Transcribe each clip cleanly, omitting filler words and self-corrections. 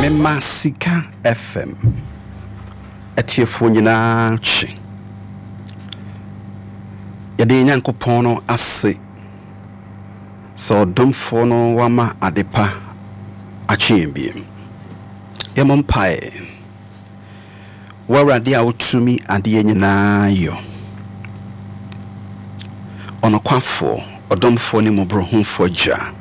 Mema Sika FM atiefoɔ nyinaa kye. Yɛde yɛn Nyankopɔn no ase sɛ ɔdomfoɔ no wama adepa akye yɛn bio. Yɛmmɔ mpaeɛ. Wo Awurade a wotumi adeɛ nyinaa yɔ, ɔnokwafoɔ, ɔdomfoɔ ne mmɔborɔhunufoɔ Agya,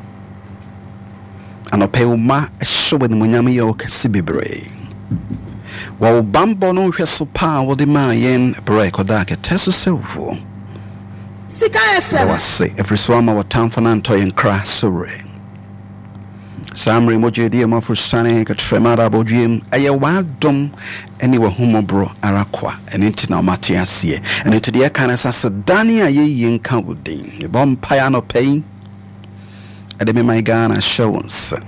anɔpa yi wo mma hyɛ wo animuonyam yɛ wo kɛse bebree wɔ wo bammɔ no nhwɛso pa a wode maa yɛn berɛ a yɛkɔdaa kɛtɛ so sɛ wufoɔ. Sika Yɛda FM. wo ase ɛfiri sɛ woama w'atamfo no antɔ yɛn kra so werɛ. Saa mmerɛ yi mogya adi yɛn aforosiane kɛtrɛma da abɔdweam. Ɛyɛ w'adom ne w'ahummɔborɔ ara kwa, ɛno nti na wɔate aseɛ. Ɛno nti deɛ ɛka ne sɛ aseda ne ayɛyie nka wo din. Mebɔ mpaeɛ anɔpa yi de me man Ghana hyɛ wo nsa.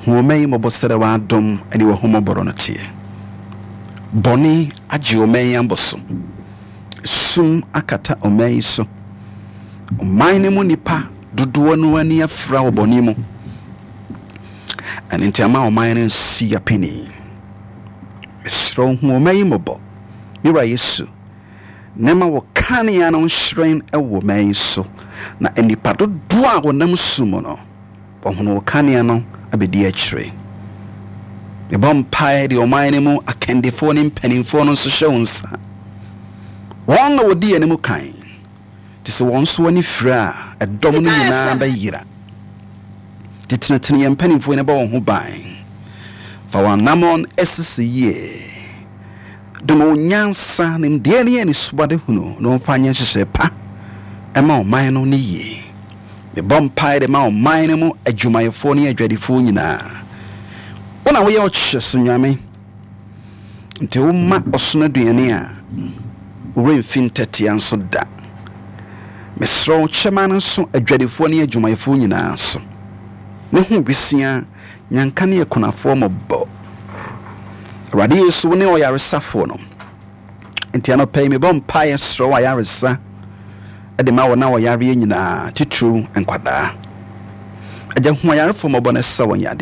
Hu ɔman yi mmɔbɔ sɛdeɛ w'adom ne w'ahummɔborɔ no teɛ. Bɔne agye ɔman yi abɔ so. Sum akata ɔman yi so. Ɔman no mu nnipa dodoɔ no ani afira wɔ bɔne mu. Ɛno nti ama ɔman no nsi apini. Mesrɛ wo hu ɔman yi mmɔbɔ. Me wura Yesu, na ma wo kanea no nhyerɛn wɔ ɔman yi so, na nnipa dodoɔ a wɔnam sum mu no, wɔahunu wo kanea no abɛdi akyire. Mebɔ mpaeɛ de ɔman no mu akandifoɔ ne mpanimfoɔ no nso hyɛ wo nsa. Wɔn na wɔdi yɛn anim kan. Te sɛ wɔn nso ani fira a, ɛdɔm no Sika nyinaa FM. bɛyera. Nti tenetene yɛn mpanimfoɔ yi na bɔ wɔn ho ban. Fa wɔn anammɔn sisi yie. Dom wɔn nyansa, nimdeɛ ne anisoadehunu na wɔmfa nyɛ nhyehyɛe pa ma ɔman no ne yie. Mebɔ mpae de ma ɔman no mu adwumayɛfoɔ ne adwadifoɔ nyinaa. Wo na woyɛ ɔkyɛ so Nyame. Nti woma ɔsono aduane a, wo werɛ mfi ntɛtea nso da. Mesrɛ wo kyɛ ma no nso adwadifoɔ ne adwumayɛfoɔ nyinaa so. Ne ho wisia, nyanka ne akunafoɔ mmɔbɔ. Awurade Yesu, wo ne ɔyaresafoɔ no. Nti anɔpa yi mebɔ mpaeɛ srɛ wo ayaresa de ma wɔn a wɔyareɛ nyinaa, titiriw nkwadaa. Agya, hu ayarefoɔ mmɔbɔ na sa wɔn yadeɛ.